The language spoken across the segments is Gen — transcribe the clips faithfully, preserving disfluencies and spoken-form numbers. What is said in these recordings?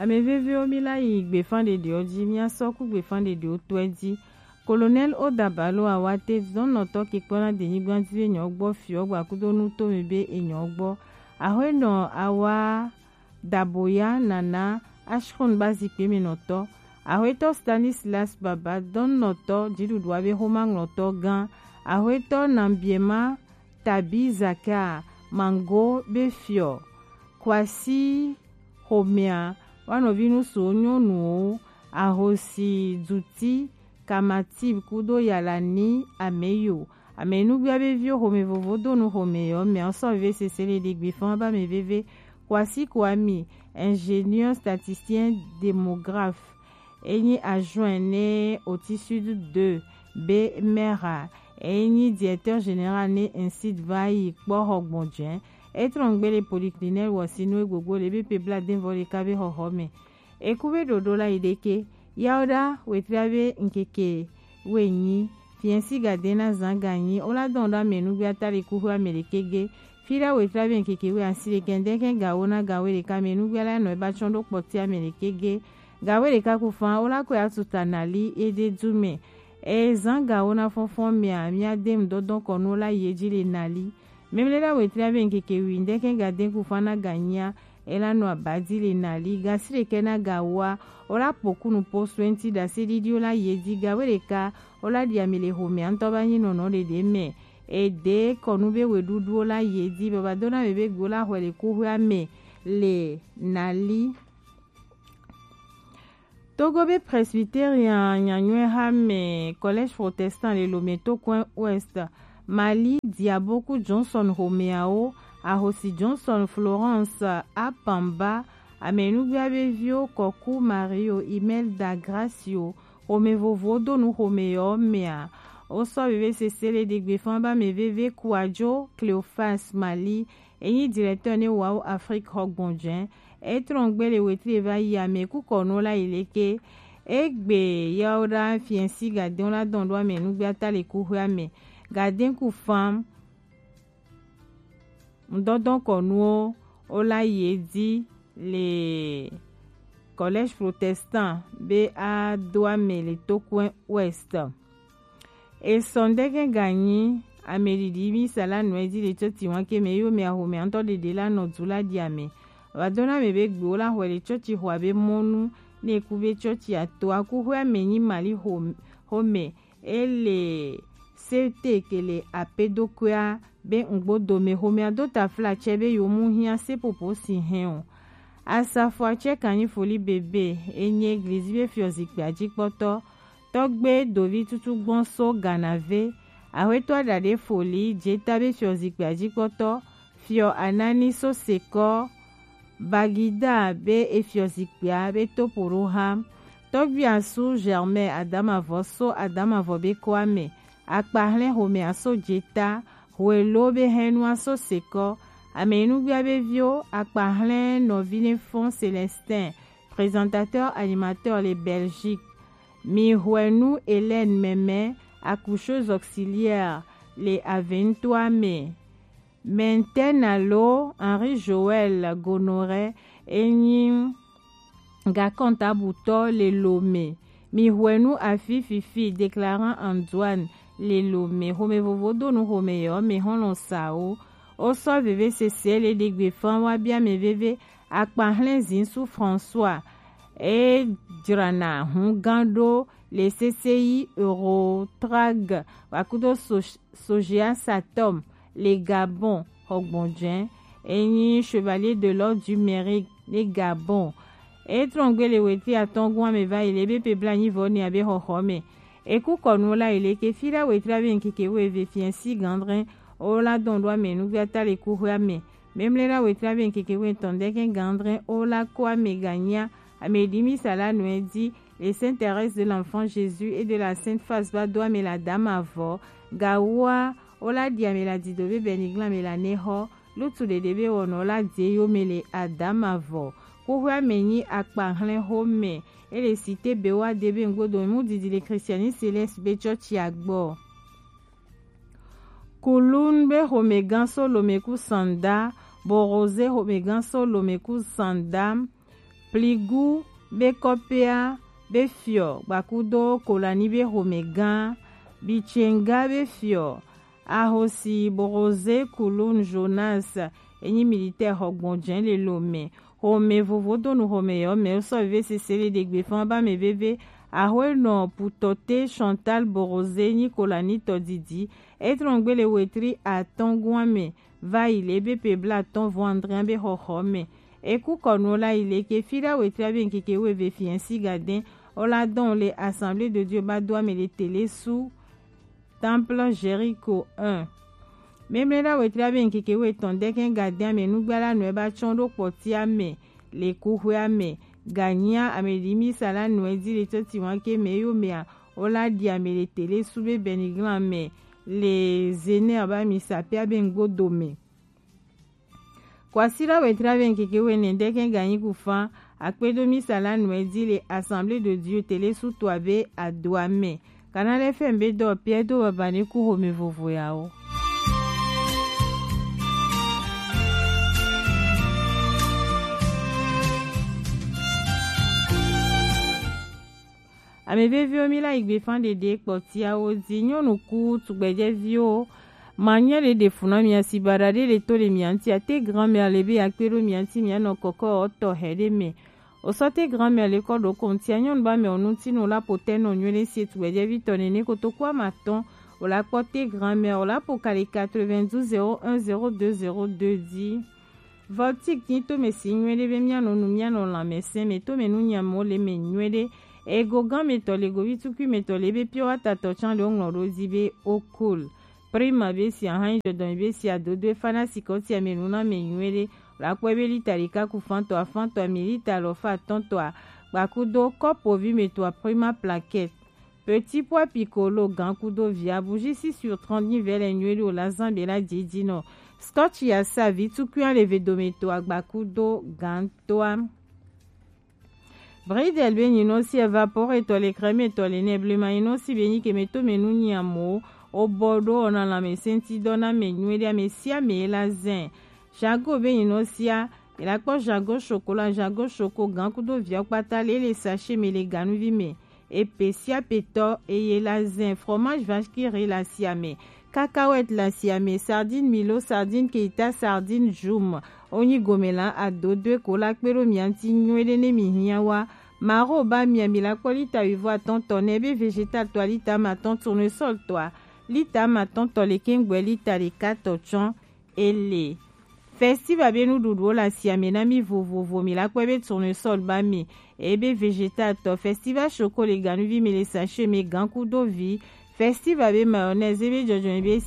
Amɛ vevewo, mi la yi gbefan ɖeɖewo ji, mi asɔ ku gbefan ɖeɖewo tɔɛ ji. Colonel Odabalo Awate, zɔnnɔtɔ kekpɔna denyigba ji be nyɔ gbɔ fiɔ gbakudo nu to mi be enyɔ gbɔ. Ahwenɔ Awa Daboya Nana Ashkun ba zikpe me nɔtɔ. Ahwetɔ Stanislas Baba, dɔnnɔtɔ dziɖuɖua be xoma ŋlɔtɔ gã. Ahwetɔ Nambiema Tabi Zaka Mango be fiɔ. Kwasi xomɛa, wa nɔvi nusuwo nyɔnuwo, ahosi duti, kamatib kudo yalani ameyo. Ame nugbia be viwo xome vovo do nu xome yɔ mɛ sɔ veve sese le ɖe gbe fɔn ba mɛ veve. Kwasi Kwami, ingénieur statisticien démographe, enyi adjoint ne Oti Sud deux be maire, enyi directeur général ne Insid va yi kpɔ xɔ gbɔn jɛ. Etrɔn gbe le polyclinique wɔsi nu egbogbo le be pe bla den vɔ le ka be xɔxɔ mɛ. Eku be ɖoɖo la yi ɖeke. Yawo ɖa wetria be ŋkeke wenyi. Fiɛnsi ga de na zan ga nyi. Wo la dɔn ɖo ame nugbe ata le kuxu ame ɖeke ge. Fi ɖa wetria be ŋkeke we asi ɖeke ŋdɛkɛ ga wo na ga we ɖeka ame nugbe la nɔ eba tsɔn ɖo kpɔti ame ɖeke ge. Ga we ɖeka ku fan wo la kɔ ya tuta nali ede du mɛ. E zan ga wo na fɔnfɔn mɛ a, mi ade ŋdɔdɔn kɔ nu wo la yi edzi le nali. Memle ɖa wetria be ŋkeke wi ŋdɛkɛ ga de ku fan na ga nyia. Ela nɔ abadi le nali gasi ɖekɛ na gawoa. Ola pokunu po suɛnti ɖase ɖiɖi ola yedi gawe ɖeka. Ola ɖi ami le xomɛ ŋutɔ ba nyi nɔnɔ ɖeɖe mɛ. Ede kɔnu be weɖuɖu ola yedi baba dona me be gbe ola xɔe le kuxɔa mɛ le nali. Togo be Presbyterian nyanyɔe ha mɛ Collège Protestant le Lomé to coin Ouest, Mali Diaboku Johnson Homeao, Ahosi Johnson Florence Apamba, amenugbia be vio Kɔku Mario Imelda Gracio, xome vovowo do nu xome yɔ mɛa. Wosɔ veve sese le ɖigbe fɔn ba mɛ veve Kuadzo Cleophas Mali, enyi directeur ne Wow Afrique xɔgbɔnjɛ. Etrɔn gbe le wetri va yi ame kukɔ no la yi leke. Egbe yawo ɖa fiɛnsi gadɛn la dɔn ɖo ame nugbe ata le kuxɔe ame. Gadɛn ku fam. Ŋdɔdɔn kɔnuwo wo la yi edi le Collège Protestant be a do ame le Tokoe Ouest. Esɔ ŋdɛkɛ ganyi ame ɖiɖi mi sala nɔ edi le tsɔti wan ke mɛ yo mɛ axome ŋutɔ ɖeɖe la nɔ du la ɖi ame. Va do na ame be gbewo la xɔe le tsɔti xɔa be mɔnu ne ku be tsɔti ato akuxɔe ame nyi mali xo xome ele sete ke le apedokoea be ŋgbo dome xomea do tafla tsɛ be yo mu hiã sepopo si hɛn o. Asafo atsɛ kanyi foli bebe enyi eglizi be fiɔ zikpia dzi kpɔtɔ. Tɔgbe dovi tutu gbɔn so Ganave, axwetɔ aɖaɖe foli dzeta be fiɔ zikpia dzi kpɔtɔ, fiɔ Anani so sekɔ, Bagida be efiɔ zikpia be topo ɖo ha. Tɔgbi asu Germain Adamavɔ so Adamavɔ be kɔa me, akpahlɛn xome aso dzeta, hwelo be hɛnu aso sekɔ, amenugbia be vio, akpahlɛn nɔvi ne fɔn Célestin, présentateur animateur le Belgique. Mi hwenu Hélène Mɛmɛ, accoucheuse auxiliaire le Aventoa me. Mɛntɛna lo Henri Joël Gonoré enyi gakɔntabutɔ le Lomé. Mi hwenu afi fifi déclarant Antoine le Lomé. Xome vovo do nu xome yɔ me xɔlɔ sawo. Wosɔ veve sese le ɖigbe fan wa bia me veve akpahlɛn zinsu François. E dzrana hun gan ɖo le sese yi Eurotrag vakudo so Sogea Satom le Gabon xɔgbɔnjɛ. Enyi Chevalier de l'Ordre du Mérite le Gabon. Etrɔn gbe le wetri atɔn gun ame va yi le be pe bla nyi vɔ ni abe xɔxɔ me. Eku kɔnu la yi le ke fi la wetri abe nkeke wo eve fiɛnsi gandrɛn o la dɔn ɖo ame nugbe ata le kuxɔe ame. Memle la wetri abe nkeke wo etɔn ɖe ke gandrɛn o la ko ame ganya ame ɖi mi sa la nɔe di le Sainte Thérèse de l'Enfant Jésus et de la Sainte Face va do ame la dama vɔ. Gawoa o la ɖi ame la dido be bɛnigla ame la ne xɔ lutu ɖeɖe be wɔnɔ la de yo me le adama vɔ. Xoxoe ame nyi akpa hlɛn xo me. E le site be wa de be ŋgbodo mu didi le Christianisme céleste be tsɔtsi agbɔ. Kulun be xomegã so Lomé ku Sanda, Borozé xomegã so Lomé ku Sanda, Pligu be kɔpea be fiɔ gbakudo Kolani be xomɛgan, Bitsenga be fiɔ Ahosi Borozé Kulun Jonas, enyi militaire xɔ gbɔnjɛ le Lomé. Xomɛ vovo donu xomɛ yɔ mɛ, wosɔ veve sese le ɖegbe fan ba mɛ veve. Axwe nɔ Putɔte Chantal Borozé nyi Kolani tɔ didi. Etrɔn gbele wetri atɔn guan mɛ, va yi le be pe bla tɔn vɔ André be xɔxɔ mɛ. Eku kɔnu la yi le ke fi la wetri abe nkeke weve fiɛnsi gadɛn. Ola dɔn le Assemblée de Dieu ba do amɛ le tele su Temple Jéricho un. Memle la wetri abe nkeke wetɔn dɛkɛn gadɛn amɛ nugba la nɔɛ ba tsɔn ɖo kpɔti amɛ le kuxwe amɛ. Ganyia amɛ ɖi misa la nɔɛ di le tɔti wan ke mɛ yo mɛa, ola ɖi amɛ le tele su be bɛniglan mɛ le Zener ba misa pe abe ngbo do mɛ. Kwasila wetri abe nkeke wene dɛkɛn ganyi kufan akpedo misa la nɔɛ di le Assemblée de Dieu tele su to abe adoa mɛ. Canal F M be dɔ Pierre do baba ne ku xomɛ vovo ya o. Ame veviwo, mi la yi gbe fan ɖeɖe kpɔtiawo di. Nyɔnu ku tugbɛjɛviwo, ma nyɛ ɖe ɖe fu na mia si baɖa ɖe le to le mia ŋuti ate grand-mère le be akpe ɖo mia ŋuti mia nɔ kɔkɔ ɔtɔ hɛ ɖe mɛ. O sɔ te grand-mère le kɔ ɖo kɔntia nyɔnu ba mɛ o ŋuti no la po tɛ nɔ nyuie ɖe si tugbɛjɛvi tɔ nene kotoku ama tɔn. O la kpɔ te grand-mère o la po kali quatre-vingt-douze zéro un zéro deux zéro deux di. Voltic nyi tome si nyuie ɖe be mia nɔ nu mia nɔ lãmɛsɛn mɛ tome nu nyamɔ le mɛ nyuie ɖe. Ego gan mɛ tɔ le govi tukui mɛ tɔ le be pure water tɔ tsan le o ŋlɔ ɖo di be o cool. Prima be si ahan yi dɔdɔn be si adodo e fana si kɔ ti ame nu na mɛ nyuie ɖe. La kpɔ be lita ɖeka ku fan tɔ afan tɔ ami lita lɔ fa atɔn tɔ a gbakudo kɔpo vi mɛ tɔ a prima plaquette. Petit pois piccolo gan kudo via bougie six sur trente nyi vɛ lɛ nyuie ɖe o la zan be la didi nɔ. Scotch ya sa vi tukui a le ve dome tɔ a gbakudo gan tɔ a. Bridel be nyinɔ si evapore tɔ le crème tɔ le nɛ blema nyinɔ si be nyi ke mɛ to mɛ nu nyi amo o bɔ ɖo ɔna lãmɛsɛnti dɔ na mɛ nyuie ɖe ame sia ame la zɛn. Jago be nyinɔ sia mi la kpɔ jago chocolat jago choco gan kudo viɔ kpata le le sachet mɛ le ganuvi mɛ. Epe sia petɔ eye la zɛn fromage vache qui rit la sia mɛ. Cacahuète la sia mɛ, sardine Milo, sardine Keita, sardine Joum. Onyi gome la adodoe ko la kpe ɖo mia ŋuti nyuie ɖe ne mi hiã wa. Maro ba mia mi la kpɔ lita wuivo atɔn tɔ nɛ be vegetal tɔ a lita ama atɔn tournesol tɔ a lita ama atɔn tɔ le keŋgbɛ lita ɖeka tɔ tsɔn ele. Festival be nuɖuɖuwo le asiame na mí vovovo. Mi la kpɔe be tournesol ba mi, eye be vegetal tɔ. Festival choco le ganuvi mi le sachet mi gan kudo vi. Festival be mayonnaise, eye be jɔjɔnyi be,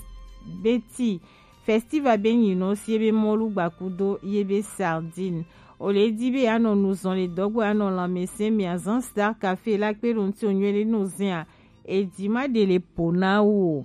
be ti. Festival be nyinɔ si eye be mɔlu gba kudo ye be sardine. O le di be anɔ nuzɔn le dɔgbo anɔ lanmɛsɛn mi azan Star Café la kpe ɖo ŋuti o nyuie ɖe no zɛn a. Edi ma ɖe le po na wo.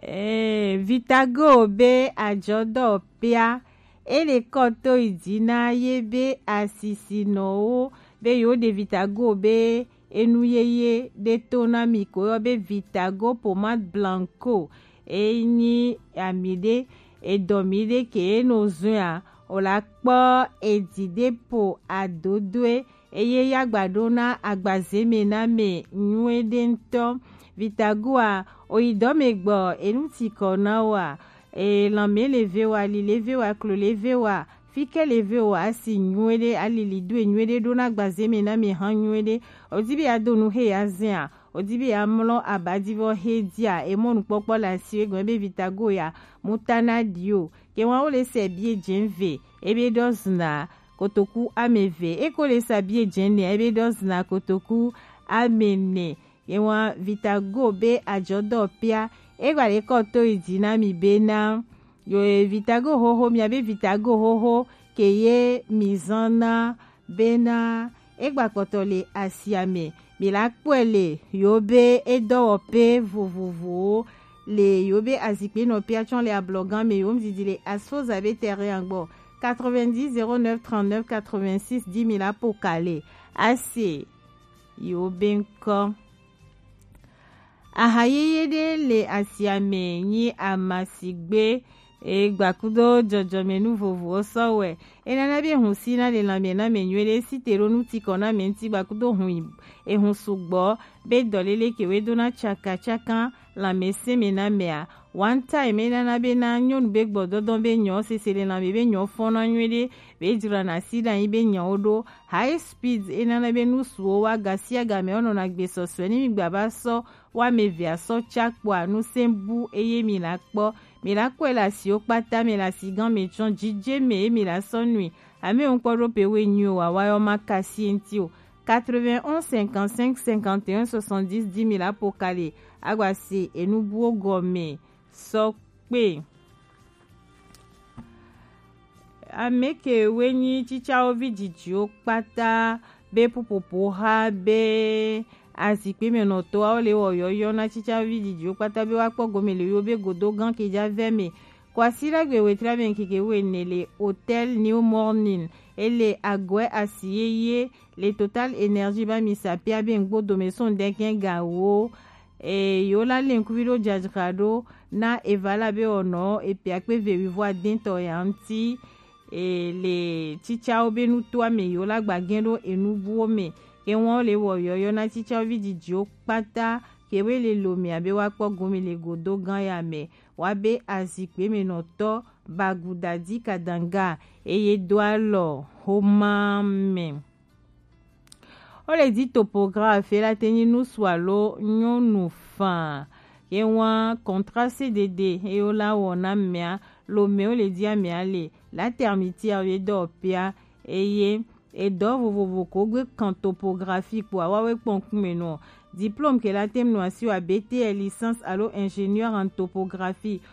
Ee, Vitago be ajɔdɔ pia, ele kɔ to yi dzi na ye be asisinɔwo be yewo ɖe Vitago be enu yeye ɖe to na mi ko yɔ be Vitago pomade blanco. Enyi ami ɖe edɔ mi ɖe ke eno zɔn a, o la kpɔ edi ɖe po adodoe. Eye ya gba ɖo na agbaze me na me nyuie ɖe ŋutɔ. Vitagoa, oyi dɔ me gbɔ, enu ti kɔ na wa, e, lanme le ve wa, ali le ve wa, klo le ve wa, fike le ve wa, asi nyuie ɖe, ali li do e nyuie ɖe ɖo na agbaze me na me hã nyuie ɖe. O di be ya do nu he ya zɛn a, o di be ya mlɔ aba di vɔ he dia, e mɔ nukpɔkpɔ le asi we gɔn be Vitago ya, mu ta na di o. Ke wa wo le se bie dze ve, e be dɔ zna kotoku ame eve. Eko le sa bie dze nɛ, ebe dɔ zna kotoku ame nɛ. Ye wa Vitago be ajɔdɔ pia. Egba le kɔ to yi dzi na mi be na. Yo, e, Vitago xoxo, mia be Vitago xoxo ke ye mi zan na be na. Egba kpɔtɔ le asia me. Mi la kpɔe le yo be edɔwɔƒe vovovowo le yo be azikpe nɔ pia tsɔ le ablɔgan me yo ŋdidi le Asfoza be terrain gbɔ. Quatre-vingt-dix zéro neuf trente-neuf quatre-vingt-six dix mille apo kale. Ase yo be ŋkɔ. Aha yeye ɖe le asia me nyi amasigbe, E gbakudo jɔjɔmɛnu vovowo sɔ wɛ. Enana be hun si na le lanmɛ na mɛ nyuie ɖe si te ɖo nu ti kɔ na mɛ ŋuti gbakudo hun yi ehun sugbɔ be dɔlele ke we do na caka caka lanmɛ se mɛ na mɛ a. One time enana be na nyɔnu be gbɔdɔdɔ be nyɔ sese le lanmɛ be nyɔ fɔn na nyuie ɖe be jra na si ɖe anyi be nyawo ɖo high speed enana be nu suwo wa ga si aga mɛ wonɔ na gbe sɔsɔe ni mi gba ba sɔ wa mɛ ve asɔ ca kpɔa nu se bu eye mi la kpɔ. Mi la kɔe le asiwo kpata mɛ le asigan mɛ tsɔ jije mɛ ye mi la sɔ nui. Ame ŋkpɔ ɖo pe we nyui o wawa yɔ ma kasi ŋti o. Quatre-vingt-onze cinquante-cinq cinquante et un soixante-dix di mi la po kali agba se enu buwo gɔmɛ sɔ kpe. Ame ke we nyi cicawo vi didiwo kpata be pupopo ha be azikpe mɛ nɔtɔwo le wɔ yɔyɔ na cicawo vi didiwo kpata be wa kpɔ gome le yo be godo gan ke ja vɛ mɛ. Kwasi la gbe wetra be keke we ne le Hotel New Morning ele agwe asi yeye le Total Energy ba mi sapia be ŋgbo dome son dɛkɛn ga wo. E yo la le ŋkuvi ɖo jajra ɖo na eva la be ɔnɔ epi akpe ve wivo adɛntɔ ya ŋti. E le cicawo be nutoa mɛ yo la gbagɛn ɖo enu buwo mɛ ke wɔn le wɔ yɔyɔ na cicawo vi didiwo kpata ke we le lo mɛ abe wa kpɔ gome le godo gan ya mɛ wa be azikpe mɛ nɔtɔ baguda di kadanga eye do alɔ homa mɛ. Wo le di topographe la te nyi nusu alo nyɔnu fã. Ye wa contrat C D D eye wo la wɔ na mea lo mɛ wo le di amea le la termitière ye dɔ pia eye edɔ vovovo ko gbe kan topographie kpo awa we kpɔn kume nɔ. Diplôme ke la tem nɔ asi wa B T L licence alo ingénieur en topographie.